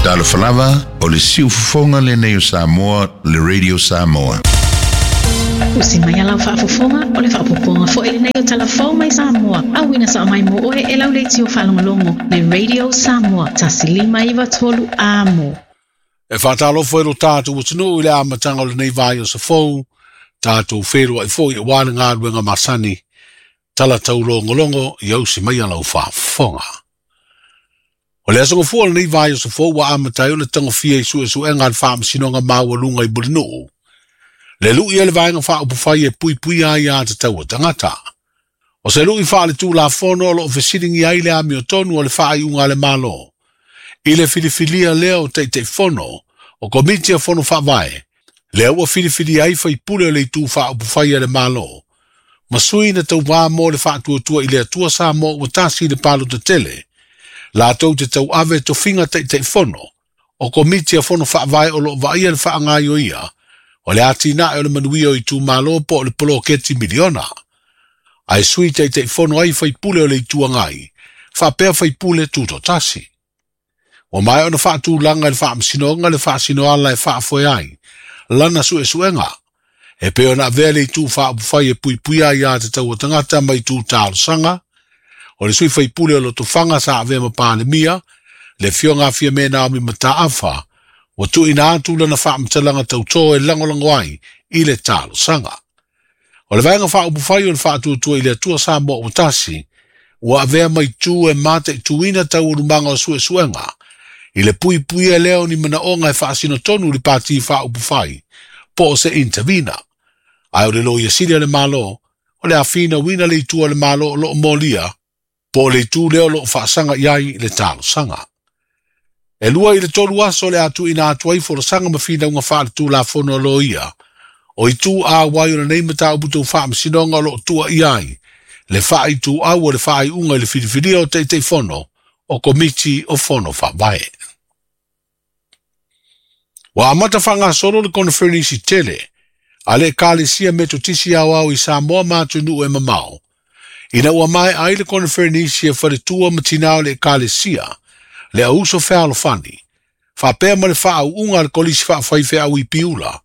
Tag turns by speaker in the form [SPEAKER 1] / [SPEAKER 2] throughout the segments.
[SPEAKER 1] Talofa lava, o le siufofoga lenei o Samoa, le Radio Samoa.
[SPEAKER 2] Usi mai a lau faafofoga, o le faaopoopoga foi lenei o Tala Fou mai Samoa, auina sao mai mo oe e lau leitio faalogologo, le Radio Samoa, 1593 Amo.
[SPEAKER 3] E faatalofa i lo tatou atunuu i le amataga o lenei vaiaso fou, tatou feiloai foi aua le galuega masani, tala taulogologo ia usi mai a lau faafofoga. O le aso gafua o lenei vaiaso fou ua amata ai ona tagofia i suesuega a le Faamasinoga Maualuga i Mulinuu, le lui a le Vaega Faaupufai e puipuia ai aiatatau a tagata. O se lui faaletulafono o lo o fesiligia ai le amiotonu o le faaiuga a le Malo i le filifilia lea o Taitaifono o Komiti a Fono Faavae, lea ua filifilia ai faipule o le Itu Faaupufai a le Malo, ma sui na tauvā mo le Faatuatua i le Atua Samoa ua tasi i le palota tele, latou te tauave tofiga Taitaifono o Komiti a Fono Faavae o lo o vaaia le faagaoioia o le atinae o le manuia o itumalo po o le poloketi miliona. Ae sui Taitaifono ai faipule o le Itu Agai, faapea faipule tutoatasi. Ua maea ona faatulaga e le Faamasinoga le faasinoala e faafoe ai lana suesuega, e pei ona avea le Itu Faaupufai e puipuia aiatatau a tagata mai itu talosaga, o le sui faipule o Lotofaga sa avea ma Palemia, le Afioga a Fiame Naomi Mataafa, ua tuuina atu lana faamatalaga tautō e lagolago ai i le talosaga. O le Vaega Faaupufai o le Faatuatua i le Atua Samoa ua tasi, ua avea mai tu e mataituina taualumaga o suesuega, i le puipuia lea o ni manaoga e faasino tonu i le Pati Faaupufai, po o se intervener. Ae o le Loia Sili a le Malo, o le a finauina le itu a le Malo o lo o molia, po o le itu lea o lo o faasaga i ai le talosaga. E 2 i le 3 aso le a tuuina atu ai folasaga ma finauga faaletulafono a loia, o itu auai o lenei mataupu tau faamasinoga o lo o tuuaia ai le faaituau o le faaiuga i le filifilia o Taitaifono o Komiti o Fono Faavae. Ua amata faagasolo le koneferenisi tele a le Ekalesia Metotisi Aoao i Samoa ma atunuu e mamao, ina ua maea ai le koneferenisi e faletua ma tinā o le Ekalesia, le auuso fealofani, faapea ma le faauuga a le Kolisi Faafaifeau i Piula,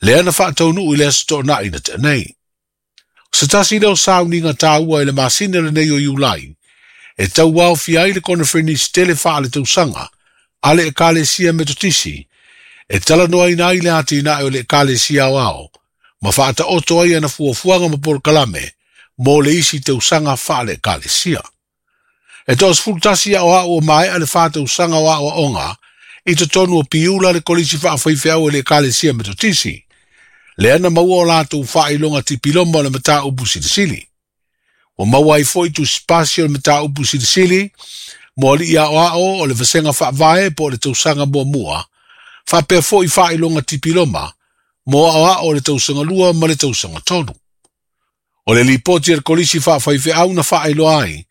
[SPEAKER 3] lea na faataunuu i le Aso Toonai na tea nei. O se tasi lea o sauniga taua i le masina lenei o Iulai, e tauaofia ai le koneferenisi tele faaletausaga a le Ekalesia Metotisi, e talanoaina ai le atinae o le Ekalesia Aoao, ma faataoto ai ana fuafuaga ma polokalame mo le isi tausaga faale-Ekalesia. E 11 aoao o maea le 4 tausaga o aoaoga i totonu o Piula le Kolisi Faafaifeau e le Ekalesia Metotisi, lea na maua o latou faailoga tipiloma o le mataupu silisili. Ua maua ai foi tusipasi o le mataupu silisili mo alii aoao o le vasega faavae po o le tausaga muamua, faapea foi faailoga tipiloma mo aoao o le tausaga 2 ma le tausaga 3. O le lipoti a le Kolisi Faafaifeau na faailoa ai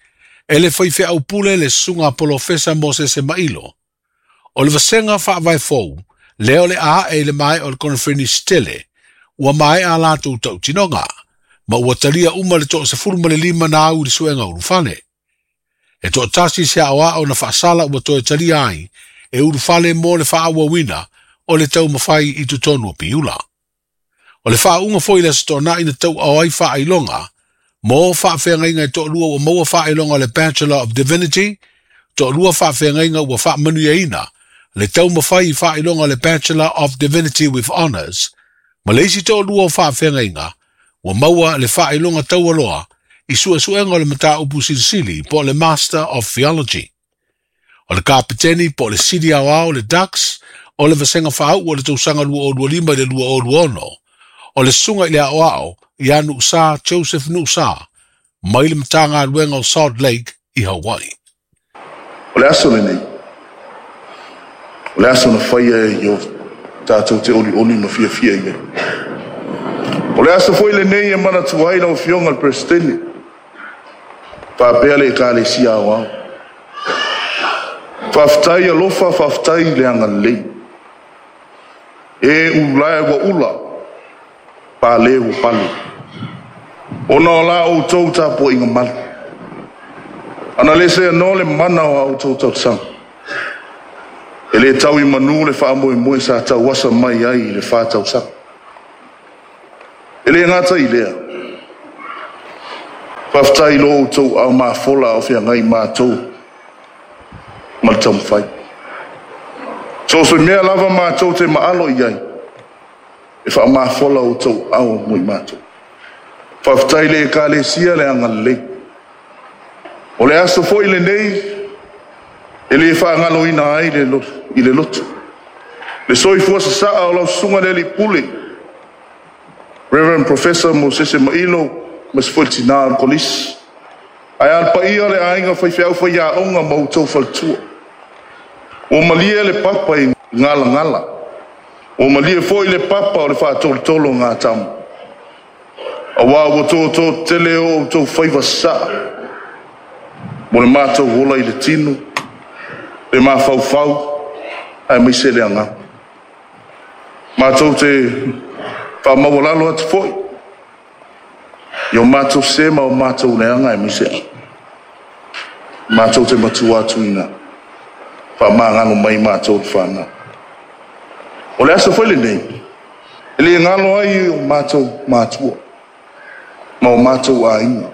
[SPEAKER 3] e le faifeau pule le susuga Polofesa Mosese Mailo. O le vasega faavae fou, lea o le a ae i le maea o le koneferenisi tele, ua maea a latou tautinoga, ma ua talia uma le 15 na au i le suega ulufale. E 1 se aoao na faasala ua toe talia ai e ulufale mo le faaauauina o le taumafai i totonu o Piula. O le faauuga foi i le Aso Toonai na tauao ai faailoga mo faafeagaiga e 2 ua maua faailoga o le Bachelor of Divinity, 2 faafeagaiga ua faamanuiaina le taumafai i faailoga o le Bachelor of Divinity with Honours, ma le isi 2 o faafeagaiga ua maua le faailoga taualoa i suesuega o le mataupu silisili po o le Master of Theology. O le kapiteni po o le sili aoao le Dux o le vasega faauu o le tausaga 2025 i le 2026, o le susuga i le aoao ia Nuusa Joseph Nuusa mai le Matagaluega o Salt Lake i Hawaii.
[SPEAKER 4] O le aso lenei, o le aso na faia e Ieova, tatou te olioli ma fiafia i ai. O le aso foi lenei e manatua ai lau Afioga i le Peresetene, faapea le Ekalesia Aoao. Faafetai alofa, faafetai le agalelei. E ulae ua ula, pale ua pale, ona o la outou tapuaiga malu. Ana le seanoa le mana o a outou tausaga. E lē tau i manū le faamoemoe sa tauasa mai ai i le 4 tausaga. E lē gata i lea, faafetai lo outou aao mafola a o feagai matou ma le taumafai. So o se mea lava matou te maalo i ai, e faamafola outou aao mo i matou. Faafetai le Ekalesia le agalelei. O le aso foi lenei e lē faagaloina ai le i le loto le soifua sasaa o lau susuga le alii pule, Reverend Professor Mosese Mailo, ma se foi tinā o le kolisi. Ae a le paia le aiga faifeau faiaoga ma outou faletua. Ua malie le papa i galagala. Ua malie foi le papa o le faatolotolo o gatamu. Auā ua tōtō tele o outou faiva sasaa mo le matou ola i le tino, le mafaufau, aemaise le agaga. Matou te faamaualalo atu foi i o matou se ma o matou leaga aemaise matou te matua atu ina faamagalo mai matou le fanau. O le aso foi lenei, e lē galo ai o matou matua ma o matou aiga.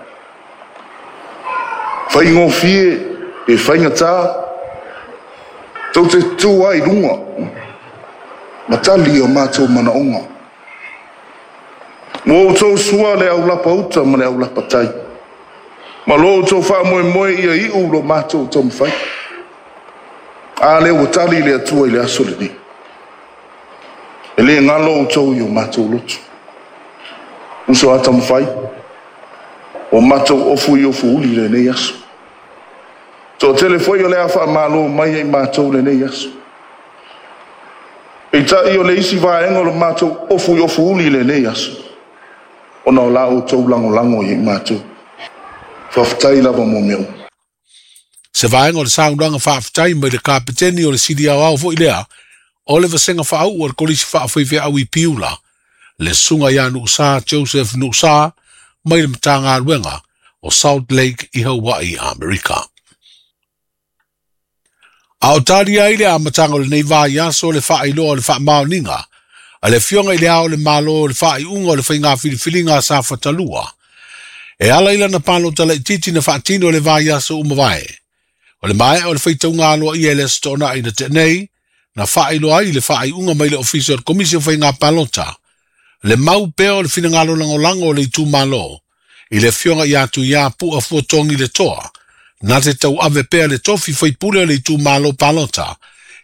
[SPEAKER 4] Faigofie e faigatā, tou te tu ai luga, ma tali o matou manaoga. Ua outou sua le aulapa uta ma le aulapa tai. Ma lo outou faamoemoe ia iu lo matou taumafai. A lea ua tali le Atua i le aso lenei. E lē galo outou i o matou loto. Uso a taumafai, o matou ofu i ofu uli lenei aso. Toatele foi o le a faamalo mai ai matou lenei aso. Peitai o le isi vaega o le matou ofu i ofu uli lenei aso, ona o la outou lagolago i matou. Faafetai lava mo mea uma.
[SPEAKER 3] Se vaega o le saunoaga faafetai mai le kapeteni o le sili aoao foi lea o le vasega faauu o le kolisi faafaifeau i Piula, le susuga ia Nuusa Joseph Nuusa mai le Matagaluega o Salt Lake i Hawaii, Amerika. A o tali ai le amataga o lenei vaiaso le faailoa o le faamaoniga a le Afioga i le Ao o le Malo o le faaiuga o le faiga filifiliga a Safata 2 e ala i lana palota laitiiti na faatino le vaiaso ua mavae. O le maea o le faitauga aloaia i le Aso Toonai na tea nei, na faailoa ai le faaiuga mai le Ofisa o le Komisi o Faiga Palota, le mau pea o le finagalo lagolago o le itumalo i le Afioga ia Tuia Pu'a Fuatogi le Toa, na te tauave pea le tofi faipule o le itumalo palota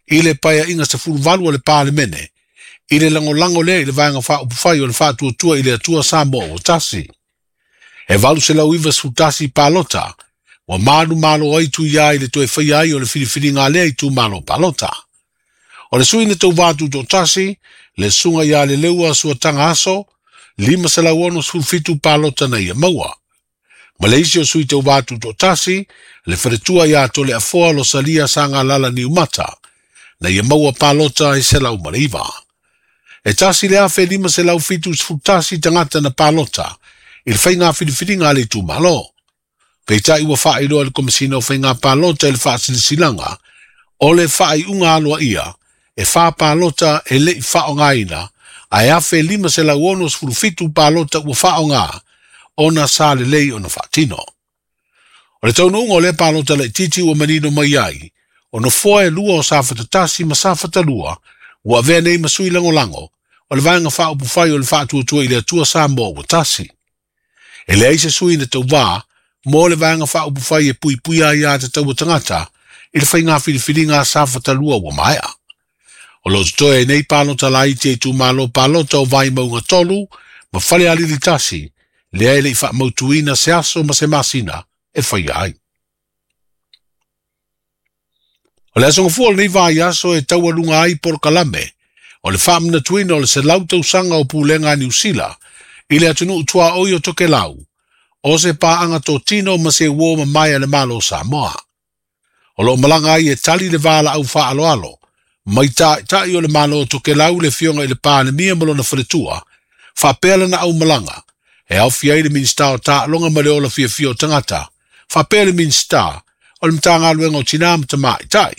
[SPEAKER 3] i le Paeaiga 18 o le Palemene, i le lagolago lea i le Vaega Faaupufai o le Faatuatua i le Atua Samoa ua Tasi. E 891 palota ua manumalo ai Tuia i le toe faia ai o le filifiliga a lea itumalo palota. O le sui na tauvā tutoatasi, le susuga ia Leleua Suataga Aso, 567 palota na ia maua. Ma le isi o sui tauvā tutoatasi, le faletua ia Toleafoa Losalia Sagalala Niumata, na ia maua palota e 109. E 1,571 tagata na palota i le faiga filifiliga a le itumalo. Peitai ua faailoa e le Komesina o Faiga Palota i le faasilasilaga o le faaiuga aloaia e 4 palota e le i faaaogaina ae 1,567 palota ua faaaoga ona sa lelei ona faatino. O le taunuuga o lea palota laitiiti ua manino mai ai, o nofoa e lua o Safata 1 ma Safata 2 ua avea nei ma sui lagolago o le Vaega Faaupufai o le Faatuatua i le Atua Samoa ua Tasi. E leai se sui na tauvā mo le Vaega Faaupufai e Puipuia Aiā Tatau a Tagata i le faiga filifiliga a Safata 2 ua maea. O lo o totoe ai nei palota laiti a itumalo palota o Vaimauga 3 ma Falealili 1, lea e le i faamautuina se aso ma se masina e faia ai. O le aso Gafua o lenei vaiaso e taualuga ai polokalame o le faamanatuina o le 100 tausaga o pulega a Niu Sila i le atunuu tuaoi o Tokelau, o se paaga totino ma se uō mamae a le Malo o Samoa. O lo o malaga ai e tali le valaau faaaloalo mai taitai o le Malo o Tokelau le Afioga i le Palemia ma lona faletua, faapea lana aumalaga, e aofia ai le Minisita o Taaloga ma le Ola Fiafia o Tagata, faapea le Minisita o le Matagaluega o Tinā ma Tamaitai.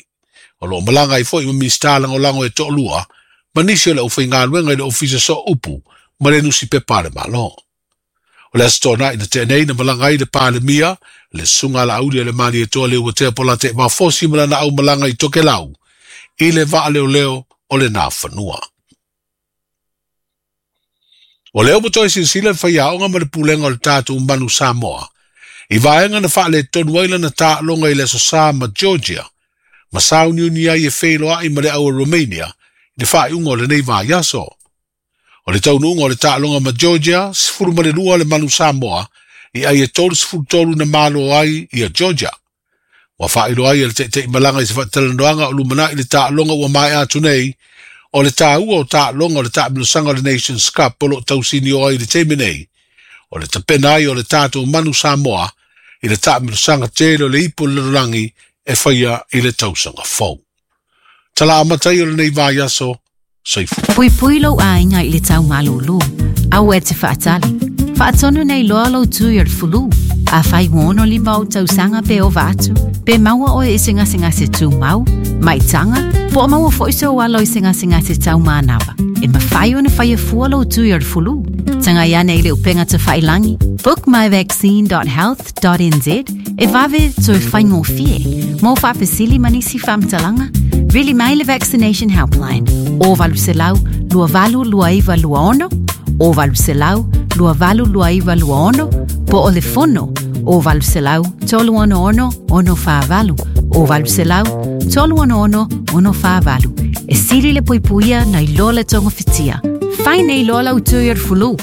[SPEAKER 3] O O lo o malaga ai foi ma Minisita Lagolago e toalua ma nisi o le aufaigaluega i le Ofisa Sooupu ma le Nusipepa a le Malo. O le Aso Toonai na tea nei na malaga ai le Palemia, le Susuga a Laauli a le Malietoa Leuatea Polataivao Fosi ma lana aumalaga i Tokelau i le vaaleoleo o le Nafanua. O lea ua toe silasila le faiaoga ma le pulega o le tatou Manu Samoa i vaega na faaletonu ai lana taaloga i le Aso Sa ma Georgia ma sauniuni ai e feiloai ma le au a Romania i le faaiuga o lenei vaiaso. O le taunuuga o le taaloga ma Georgia, 12 le Manu Samoa i ai e 33 na malo ai ia Georgia. Ua faailoa ai e le taitaimalaga i se faatalanoaga o lumanai le taaloga ua maea atu nei, o le taua o taaloga o le taamilosaga o le Nations Cup o lo o tausinio ai i le taimi nei, o le tapena ai o le tatou Manu Samoa i le taamilosaga tele o le ipu o le lalolagi e faia i le tausaga fou. Tala amata ia o lenei vaiaso, soifua.
[SPEAKER 5] Puipui lou aiga i le tau malūlū. Aua e te faatali. Faatonu nei loa lou tui o le fulu. Afai ua 65 ou tausaga pe ova atu, pe maua oe i se gasegase tumau, maitaga, po o maua foi sou alo i se gasegase tau manava, e mafai ona faia fua lou tui o le fulu. Tagai ane i le upega tafailangi bookmyvaccine.health.nz e vave toe faigofie. Mo faafesili ma nisi faamatalaga, vili mai le Vaccination Helpline o 800 282926 o 800 282926 po o le fono o 800 366 648 o 800 366 648. E sili le puipuia nai lo le togafitia. Fai nei loa lau tui o le fulu.